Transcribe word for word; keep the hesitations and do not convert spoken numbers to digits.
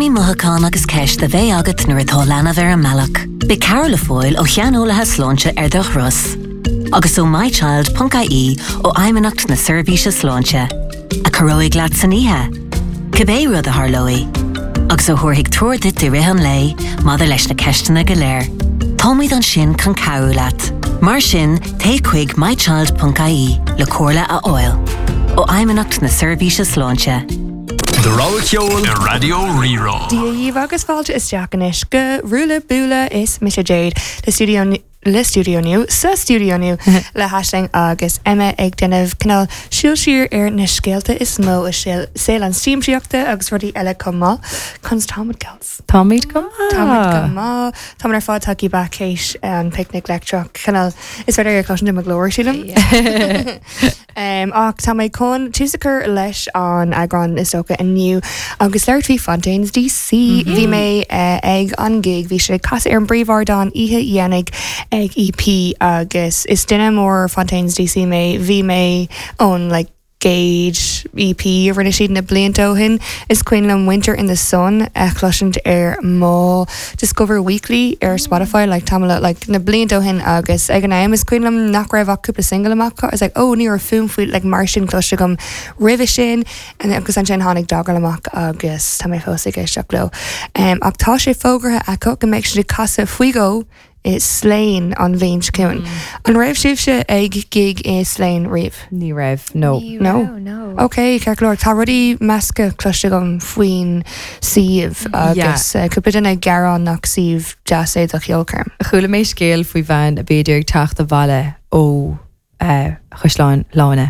iomaí mothúchán agus ceist a bheidh agat nuair atá leanbh ar an mbealach. Beidh cabhair le fáil ó shaineolaithe sláinte ar do thuras. Agus ó mychild.ie ó Fheidhmeannacht na Seirbhíse Sláinte. A chabhróidh leat san oíche. Cibé rud a tharlóidh. Agus a thabharfaidh treoir duit i rith an lae maidir leis na ceisteanna go léir. Táimid ansin chun cabhrú leat. Mar sin téigh chuig mychild.ie le comhairle a fháil. Ó Fheidhmeannacht na Seirbhíse Sláinte. Do rogha ceoil ar Raidió Rí-Rá. Dia dhaoibh agus fáilte isteach anois go Ruaille Buaille is mise Jade le studio le studio nua sa studio nua le hAisling agus Emma ag déanamh cineál siúl siar ar na scéalta is mó i saol an siamsaíochta agus rudaí eile chomh maith. Conas táimid girls. Táimid go Táimid go maith Tá ar fad tagtha back théis an Picnic Leictreach cineál is féidir ar cloisteáil mo ghlór sílim. Um, ach tá mé chun tús a chur leis an eagrán is dócha inniu agus labhairt faoi Fontaines DC. Bhí mé uh, ag an gig bhí sé casadh ar an bpríomhardán oíche dhéanach ag EP agus is duine mór Fontaines DC mé bhí mé ón like, gcéad EP a rinne siad na blianta ó shin is cuimhin liom Winter in the Sun a chloisint ar mo Discover Weekly ar Spotify like tamall like na blianta ó shin agus ag an am is cuimhin liom nach raibh ach cúpla single amach is like oh ní raibh fuaim faoi like mar sin cloiste agam roimhe sin and agus ansin tháinig Dogrel amach agus tá mé fós ag éisteacht leo. Um, ach tá sé fógartha acu go mbeidh siad ag casadh faoi dhó i Slane an bhliain seo chugainn. An raibh sibhse ag gig i Slane riamh? Ní raibh no. No. no. Ok, ceart go leor tá rudaí measctha cloiste agam faoin suíomh agus uh, cúpla duine ag gearán nach suíomh deas é do cheolchoirm. Chuala mé scéal faoi bhean a b'fhéidir ag teacht abhaile ó uh, Chaisleán Bhláine.